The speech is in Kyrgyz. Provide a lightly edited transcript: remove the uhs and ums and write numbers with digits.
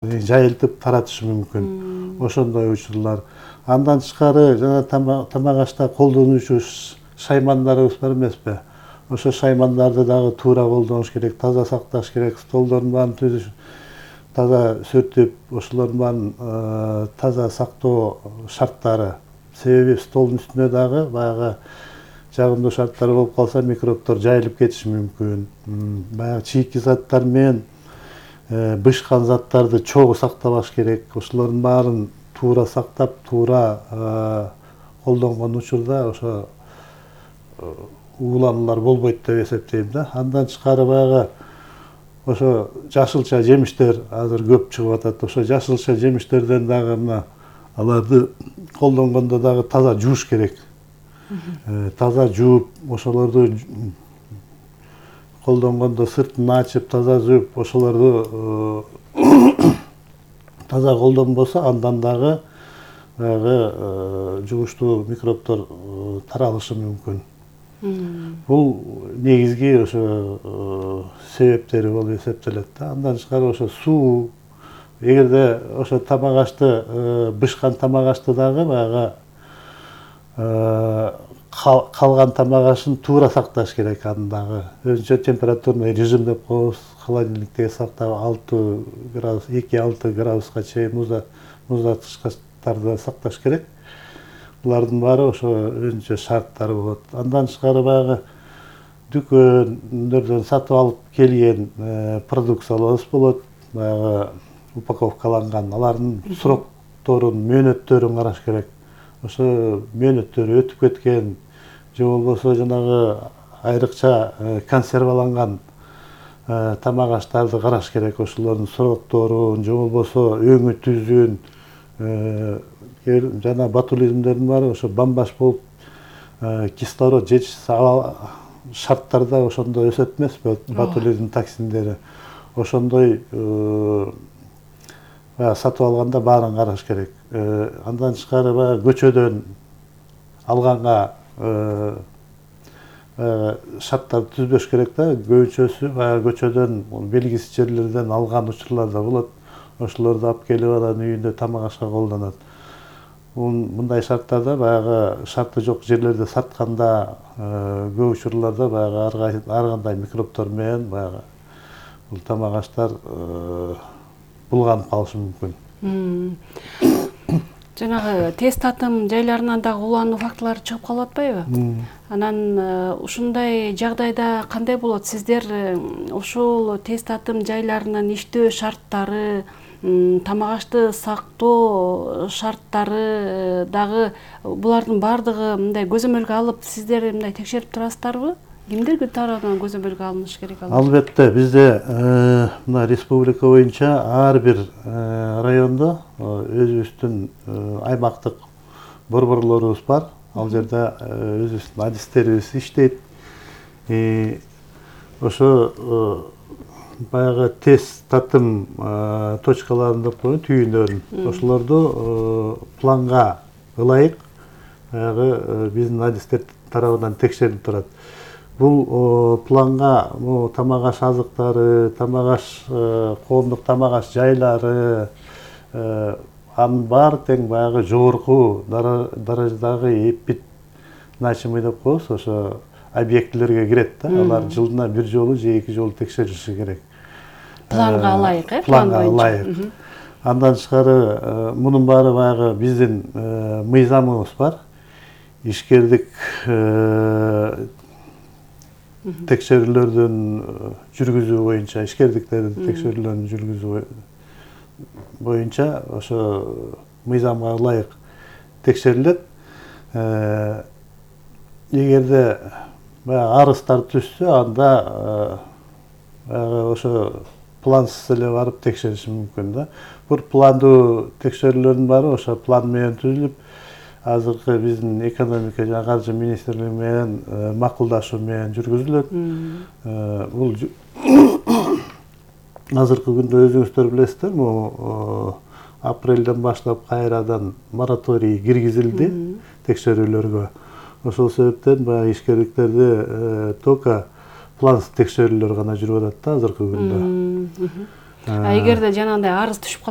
жайылтып таратышы мүмкүн. Ошондой учурлар. Андан тышкары жана тамак ашта колдонуучу шаймандарыбыз бар эмеспи? Ошо шаймандарды дагы туура колдонуш керек, таза сакташ керек, столдордун баарын түзүш, таза сүртүп, ошолордун баарын таза сактоо шарттары. Себеби столдун үстүнө дагы баягы жагымдуу шарттар болуп калса, микробдор жайылып кетиши мүмкүн. Баягы чийки заттар менен бышкан заттарды чогуу сактабаш керек. Ошолордун баарын туура сактап, туура колдонгон учурда ошо уулануулар болбойт деп эсептейм да. Андан тышкары баягы ошо жашылча жемиштер азыр көп чыгып атат. Ошо жашылча жемиштерден дагы мына аларды колдонгондо дагы таза жууш керек. Таза жууп, ошолорду колдонгондо сыртын ачып, таза жууп, ошолорду таза колдонбосо, андан дагы баягы жугуштуу микробдор таралышы мүмкүн. Бул негизги ошо себептери болуп эсептелет да. Андан тышкары ошо суу, эгерде ошо тамак ашты, бышкан тамак ашты дагы баягы калган тамак ашын туура сакташ керек. Аны дагы өзүнчө температурный режим деп коебуз, холодильникте сактап 6 градус, 2-6 градуска чейин муздаткычтарда сакташ керек. Булардын баары ошо өзүнчө шарттары болот. Андан тышкары баягы дүкөндөрдөн сатып алып келген продукцияларыбыз болот. Баягы упаковкаланган, алардын срокторун, мөөнөттөрүн караш керек. Ошо мөөнөттөрү өтүп кеткен, же болбосо жанагы айрыкча консерваланган тамак аштарды караш керек. Ошолордун срокторун, же болбосо өңү түзүн, жана ботулизмдердин баары ошо бамбаш болуп кислород жетишсиз шарттарда ошондой өсөт эмеспи, ботулизм токсиндери. Ошондой сатып алганда баарын караш керек. Андан тышкары баягы көчөдөн алганга шарттарды түзбөш керек да. Көбүнчөсү баягы көчөдөн, белгисиз жерлерден алган учурлар да болот. Ошолорду алып келип анан үйүндө тамак ашка колдонот. Мындай шарттарда баягы шарты жок жерлерде сатканда көп учурларда баягы ар кандай микробдор менен баягы бул тамак аштар булганып калышы мүмкүн. Жанагы тез татым жайларынан дагы улануу фактылары чыгып калып атпайбы? Анан ушундай жагдайда кандай болот? Сиздер ушул тез татым жайларынын иштөө шарттары, тамак ашты сактоо шарттары дагы булардын баардыгы мындай көзөмөлгө алып, сиздер мындай текшерип турасыздарбы? Кимдер тарабынан көзөмөлгө алыныш керек? Албетте, бизде мына республика боюнча ар бир райондо өзүбүздүн аймактык борборлорубуз бар. Ал жерде өзүбүздүн адистерибиз иштейт. Ошо баягы тез татым точкаларын деп коебуз, түйүндөрүн. Ошолорду планга ылайык баягы биздин адистер тарабынан текшерилип турат. Бул планга тамак аш азыктары, тамак аш, коомдук тамак аш жайлары, анын баары тең баягы жогорку даражадагы эпид значимый деп коебуз, ошо объектилерге кирет да. Алар жылына бир жолу же 2 жолу текшерилиши керек. Планга ылайык, Планга ылайык. Андан тышкары мунун баары баягы биздин мыйзамыбыз бар. Ишкердик текшерүүлөрдүн жүргүзүү боюнча, ишкердиктердин текшерүүлөрүн жүргүзүү боюнча ошо мыйзамга ылайык текшерилет. Эгерде баягы арыздар түшсө, анда ошо плансыз эле барып текшериши мүмкүн да. Бул пландуу текшерүүлөрдүн баары ошо план менен түзүлүп, азыркы биздин экономика жана каржы министрлиги менен макулдашуу менен жүргүзүлөт. Бул азыркы күндө өзүңүздөр билесиздер, бул апрелден баштап кайрадан мораторий киргизилди текшерүүлөргө. Ошол себептен баягы ишкерликтерде только плансыз текшерүүлөр гана жүрүп атат да азыркы күндө. Эгерде жанагындай арыз түшүп калат